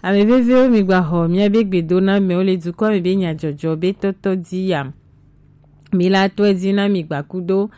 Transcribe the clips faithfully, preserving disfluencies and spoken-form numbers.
Ame vevewo, mi gba xɔ miabe gbedoname wo le dukɔ me be nyajɔjɔ be tɔtɔ di ya. Mi la tɔe di na mi gba kudo.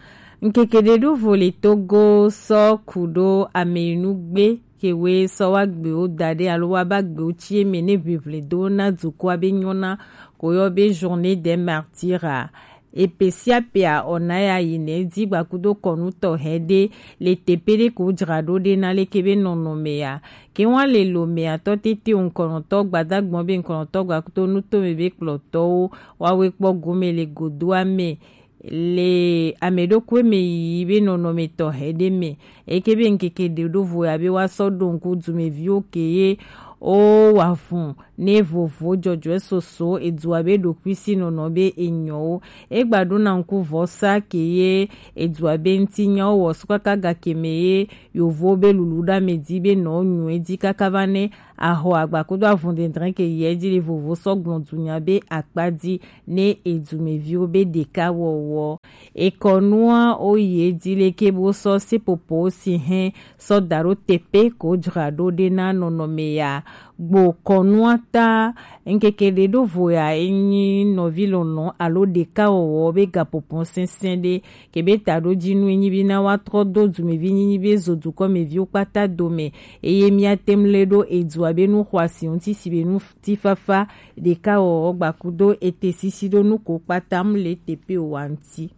Ŋkeke ɖe ɖo vo le Togo sɔ ku ɖo ame yi nu gbe ke we sɔ wa gbewo da ɖe alo wa ba gbewo ci eme ne ʋiʋli do na dukɔa be nyɔna ko yɔ be journée des martyrs a. Epe sia pea, ɔ na ya yi nɛ di gba kudo kɔnu tɔxɛ ɖe le tepe ɖe ko jra ɖo ɖe na leke be nɔnɔme ya. Ke wa le lo mea tɔ tete ŋkɔnɔtɔ gbadagbɔn be ŋkɔnɔtɔ gba kudo nutome be kplɔtɔwo wa we kpɔ gome le godoa me le ame ɖokui me yi be nɔnɔme tɔxɛ ɖe me. Eke be ŋkeke ɖe ɖo vo ya be wa sɔ ɖo ŋku dumeviwo ke ye o wa fun ne vovo jɔjɔɛ soso edua be ɖokui si nɔnɔ be enyɔwo. Egba ɖo na ŋku vɔsa ke ye edua be ŋuti nyawo wɔ sukaka gake me ye yovo be lulu ɖa me di be nɔ nyuɛ di kaka va ne axɔ agba kudo avun dendrɛn ke yɛ di le vovo sɔ gblɔ dunya be akpa di ne edumeviwo be ɖeka wɔwɔ. Ekɔnua o ye di leke bo sɔ sepopo si hɛn sɔ da ɖo tepe ko jra ɖo ɖe na nɔnɔme ya. Gbo kɔnua ta ŋkeke ɖe ɖo vo ya enyi nɔvi lɔlɔn alo ɖeka wɔwɔ be gapopɔn sɛnsɛn ɖe. Kebe ta ɖo dzi nu enyi be na wa trɔ do dumevi nyinyi be zo dukɔ me viwo kpata dome. Eye mia tem le ɖo edua be nu xɔasi ŋuti si be nu ti fafa ɖeka wɔwɔ gba kudo ete sisi ɖo nu ko kpata mu le tepe wa ŋuti.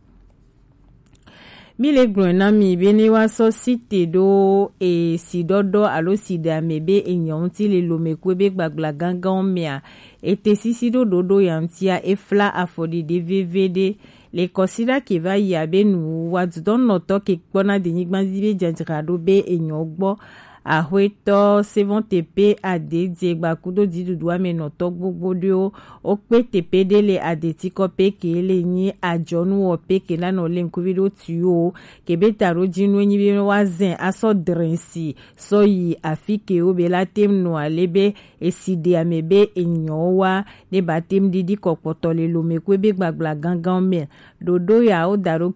Mi le gblɔe na mi be ne wa sɔ site ɖo esi ɖɔɖɔ alo si ɖe ame be enyɔ ŋuti le lome kue be gbagbla gangan mea, ete sisi ɖo ɖoɖo ya ŋutia efla afɔ ɖiɖi veve ɖe. Le kɔsiɖa ke va yi abe nu wa dudɔnɔtɔ ke kpɔna denyigba dzi be dzadzra ɖo be enyɔ gbɔ. Axwetɔ Sevɔnte pe ade dze gba kudo dziɖuɖu ame nɔtɔ gbogbo ɖewo. Wo kpe tepe ɖe le adetikɔ pe ke le nyi adzɔnu wɔ pe ke na nɔ le ŋkuvi ɖo tuyo. Ke be ta ɖo dzinu enyi be wa zɛn asɔ drensi sɔ yi afi ke wo be la tem nɔ ale be esi ɖe ame be enyɔ wa ne ba tem ɖiɖi kɔ kpɔtɔ le lome kue be gbagbla gangan me. Ɖoɖo ya wo da ɖo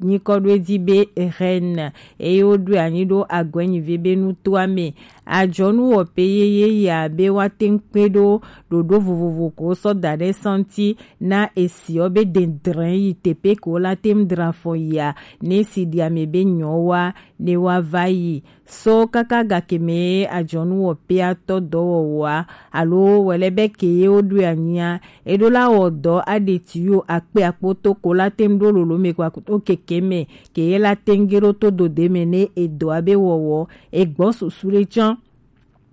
nyikɔ ɖo edzi be Irène eye woɖoe anyi ɖo agɔenyivi be nutoa me. Adzɔnu wɔ pe yeye ya be woate ŋu kpe ɖo ɖoɖo vovovo ko sɔ da ɖe santi na esiɔ be dedrɛn yi tepe ko la te ŋu dra fɔ yia ne si ɖi ame be nyɔ wa ne wa va yi. So kaka gake me adzɔnu wɔ pea tɔ dɔwɔwɔa alo wɛlɛ be ke ye wo ɖoe anyia, eɖo la wɔ dɔ aɖe tiyo akpe akpoto ko la te ŋu ɖo lolo me kpa to keke me ke ye la te ŋu ge ɖo to dode me ne edɔa be wɔwɔ egbɔ susu ɖe tsã.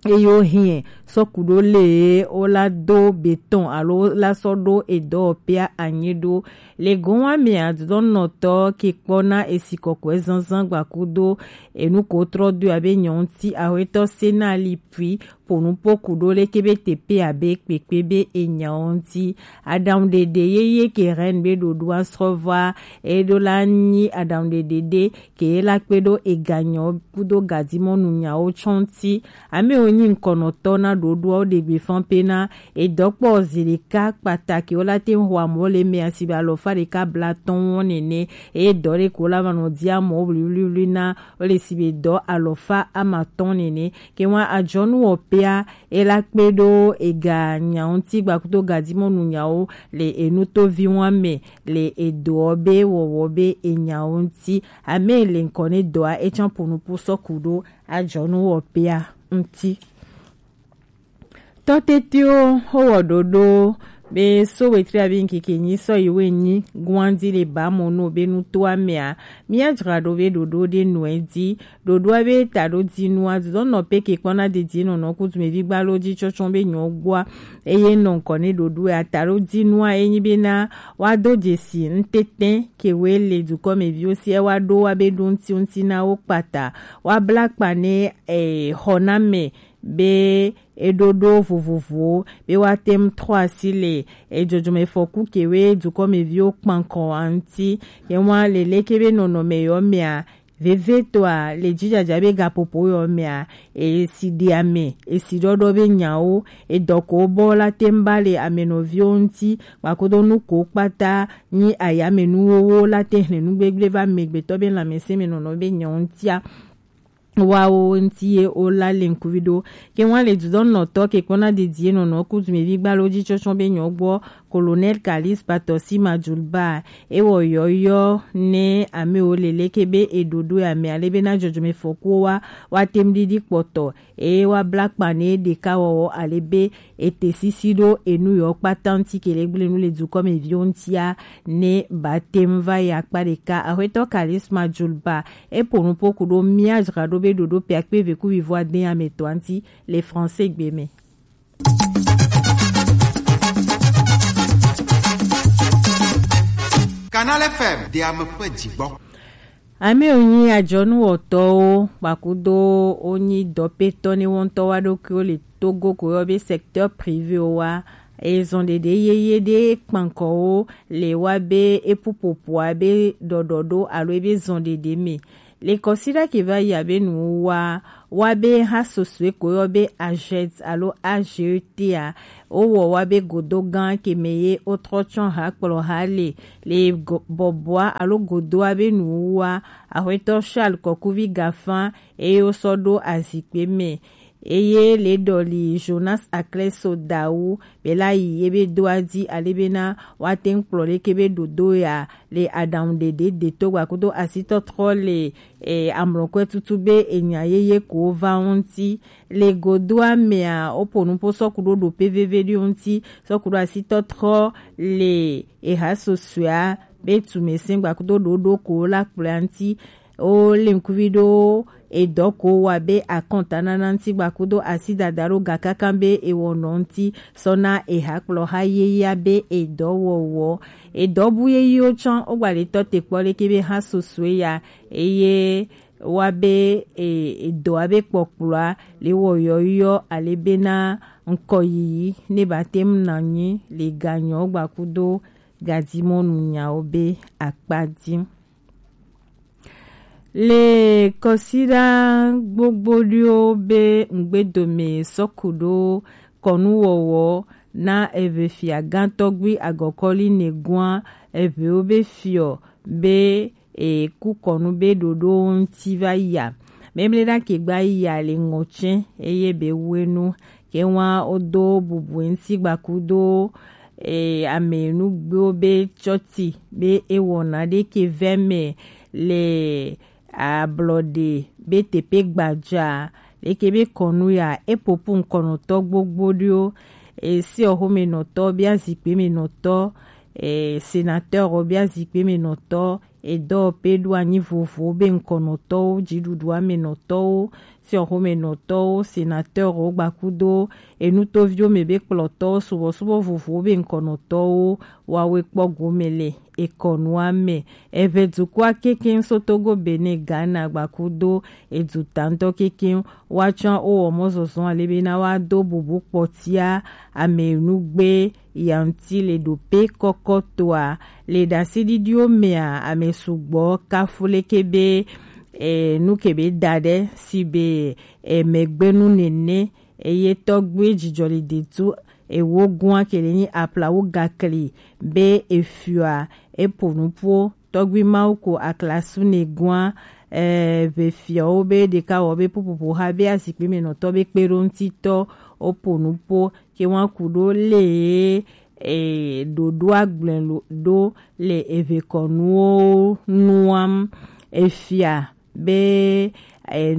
Eye wo hiɛ sɔ ku ɖo le wo la do betɔn alo wo la sɔ ɖo edɔwɔpea anyi ɖo. Le gowa mea dɔnɔtɔ ke kpɔ na esi kɔkɔe zanzan gbakudo enu ko trɔ do abe nyɔnti ahwetɔ sena li pui ponu poku ɖo leke be tepe abe kpekpe be enyawo ŋuti. Aɖaŋuɖeɖe yeye ke Reine be ɖoɖoa srɔ̃ va eɖo la nyi aɖaŋuɖeɖe ɖe ke la kpe ɖo eganyɔ kudo gadimɔnu nyawo tsɔ ŋuti. Amewo nyi ŋkɔnɔtɔ na ɖoɖoawo ɖegbe fan pe na edɔkpɔ zi ɖeka kpata ke wo la te ŋu xɔ amɔ le mea si be alɔfa ɖeka blatɔn nene eye dɔ ɖe ko la va nɔ di amɔ wliwliwli na wo le si be dɔ alɔfa amatɔn nene. Ke wa adzɔnu wɔ pea e la kpe ɖo ega nya ŋuti gbakudo gadimɔnu nyawo le enutovi wa me le edɔɔ be wɔwɔ be enyawo ŋuti. Ame le ŋkɔ ne dɔa etsã ponupu sɔ ku ɖo adzɔnu wɔ pea ŋuti. Tɔtetiwo wowɔ ɖoɖo be so wetri abi ŋkeke nyi sɔ yi we nyi guandi le ba mo no be nutoa mea mia dzra ɖo be ɖoɖo ɖe nɔe di. Ɖoɖoa be ta ɖo di nua dudɔnɔ pe ke kpɔna didi nɔnɔ kutu me vi gbalo di tsɔtsɔ be nyɔ gbɔa eye nɔ ŋkɔ ne ɖoɖoa ta ɖo di nua enyi be na wa do dzesi ŋtɛtɛ ke we le dukɔ me viwo si wa ɖo wa be ɖo ŋti ŋti na wo kpata wa bla kpa ne e xɔ na me be eɖoɖo vovovowo be woate ŋu trɔ asi le edzɔdzɔmefɔku kewo dukɔmeviwo kpankɔ ŋuti. Ye wa le leke be nɔnɔme yɔ mea, vevetɔa le dzidzadza be gaƒoƒo yɔ mea, esi ɖi ame, esi ɖɔɖɔ be nyawo, edɔ ko bɔ la te ŋu ba le ame nɔviwo ŋuti, gbakodo nu ko kpata nyi ayame nuwowo la te hlẽ nu gbegble va amegbetɔ be lãmesẽ me nɔnɔ be nyawo ŋutia. wa wo ŋuti ye wo la le ŋkuvi ɖo. Ke ŋua le dudɔnnɔtɔ ke kpɔna dedie nɔnɔ kudumevi gbalo ji tsɔtsɔ be nyɔgbɔ Colonel Kalis Batɔsi Majulba, e wɔ yɔyɔ ne ame wo le leke be e ɖoɖo ya me ale be na jɔjɔme fɔkuwo wa wa tem ɖiɖi kpɔtɔ, e wa bla kpa ne ɖeka wɔwɔ ale be e te sisi ɖo enu yɔ kpata ŋuti ke le gblẽ nu le dukɔmeviwo ŋutia ne ba tem va yi akpa ɖeka. Axwetɔ Kalis Majulba, e po nupo ku ɖo mia dzra ɖo be ɖoɖo pe akpe eve ku vivo ade ame tɔa ŋuti le français gbe me. Canal F M, de ame ƒe dzigbɔ. Ame wonyi adzɔnuwɔtɔwo kpakudo wonyi dɔpetɔ ne wo ŋutɔ wa ɖokuiwo le Togo ko yɔ be secteur privé wa. Ezɔn ɖeɖe yeye ɖe kpankɔwo le wa be epupopoa be ɖɔɖɔ ɖo alo ebe zɔn ɖeɖe me. Le kɔsiɖa ke va yi abe nuwuwa wa be ha sosue ko yɔ be A G E T alo A G E T a, wowɔ wa be godo gã ke me ye wotrɔ tsɔ ha kplɔ ha le le go- bɔbɔa alo godoa be nuwuwa. Axwetɔ Charles Kɔkuvi Gafan eye wosɔ ɖo azikpe me. Eye le ɖɔli Jonas Akleso Dawu be la yi ye be doa di ale be na wa te ŋu kplɔ leke be ɖoɖo ya le aɖaŋu ɖeɖe de to gbakudo asitɔtrɔ le e, amlɔkɔe tutu be enya yeye ko va wo ŋuti. Le godoa mea, woƒo nuƒo sɔku ɖo ɖoƒe veve ɖewo ŋuti, sɔku ɖo asitɔtrɔ le eha susɔea be tumesẽ gbakudo ɖoɖo ko la kplɔa ŋuti. Wo le ŋkuvi ɖo edɔ ko wa be akɔntanana ŋuti gbakudo asidada ɖo gakaka be ewɔnɔ ŋuti sɔna eha kplɔha yeyea be edɔ wɔwɔ. Edɔ bu yeyiwo tsã wogba le tɔ te kpɔ leke be ha susɔe ya eye wa be e, edɔa be kpɔkplɔa le wɔ yɔyɔ ale bena ŋkɔ yiyi ne ba te ŋu na nyi le ganyɔ gbakudo gadimɔnu nyawo be akpa di. Le kɔsiɖa gbogbo ɖewo be ŋgbedome sɔku ɖo kɔnuwɔwɔ na eve fia gãtɔgbi agɔkɔli ne gua evewo be fiɔ be e, ku kɔnu be ɖoɖo ŋuti va yia. Memle ɖa ke gba yia le ŋɔtsɛ eye be wenu ke wa wodo bubu ŋuti gbakudo e, ame nugbewo be tsɔti be ewɔna ɖe ke vɛ me le ablɔɖe be teƒe gbadza leke be kɔnu ya epopu ŋkɔnɔtɔ gbogbo ɖewo e, si ɔxome nɔtɔ be azikpe me nɔtɔ e, sénateur be azikpe me nɔtɔ edɔwɔƒe ɖo anyi vovowo be ŋkɔnɔtɔwo, dziɖuɖua me nɔtɔwo, fiɔxome nɔtɔwo, senateurwo gbakudo enutoviwo me be kplɔtɔwo, subɔsubɔ vovowo be ŋkɔnɔtɔwo, woawoe kpɔ gome le ekɔnua me. Eve dukɔa kekeŋ so Togo, Benin, Ghana gbakudo edu tantɔ kekeŋ woatsɔ wowɔ mɔzɔzɔ ale be na woado bubu kpɔtia ame nugbe yanti le ɖope kɔkɔtoa le ɖaseɖiɖiwo mea ame sugbɔ kafu leke be e, nu ke be da ɖe si be e, megbenu nene eye tɔgbe dzidzɔ le detu ewo gua ke le nyi aplawu gakli be efia epo nupo tɔgbe mawu ko aklasu ne gua e, be fiawo be ɖeka wɔ be popopo ha be azikpe me nɔtɔ be kpe ɖo ŋutitɔ wopo nupo ke wa ku ɖo le e, ɖoɖo agblẽ lo- ɖo le eve kɔnuwo nuam efia be e,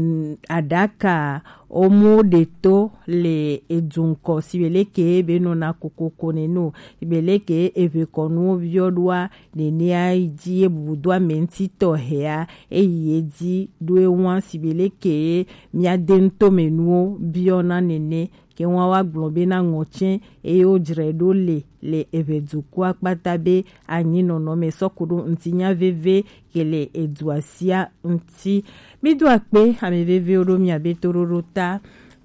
aɖaka omo ɖe to le edu ŋkɔ si be leke be nɔna kokoko ne no si be leke eve kɔnuwo biɔ ɖoa nenea yi dzi ye bubu do ame ŋuti tɔ hea eyi ye dzi ɖo ewa si be leke mia de ŋutome nuwo biɔ na nene ke wa wa gblɔ be na ŋɔtsɛ eye wo dzre ɖo le le eve dukɔa kpata be anyi nɔnɔ me sɔku ɖo ŋutinya veve ke le edua sia ŋuti. Mi do akpe ame vevewo ɖo mia be toɖoɖo ta.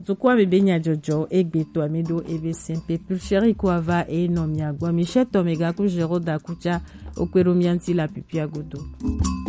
Dukɔa me be nyadzɔdzɔ egbe to ami ɖo ebe simple plus chéri ko ava e nɔ mia gbɔ mi shetɔ me gaku zero da kutsa o kpe ɖo mia ŋuti la pipia godo.